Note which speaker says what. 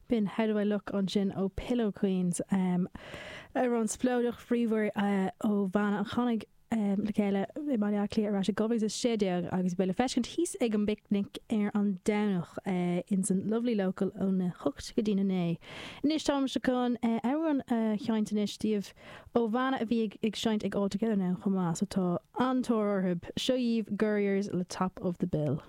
Speaker 1: B'in How Do I Look ansin ó Pillow Queens, amhrán spleodrach bríomhar ó bhanna a tháinig le chéile i mBaile Átha Cliath ar ais i 2016 agus beidh le feiscint thíos ag an bPicnic ar an Domhnach ins an Lovely Local óna 8 go dtína 9. Anois táimse chun amhrán a sheinnt anois daoibh ó bhanna a bhí ag seinnt ag All Together Now chomh maith so tá an-tóir orthu. Seo dhaoibh Gurriers le Top of the Bill.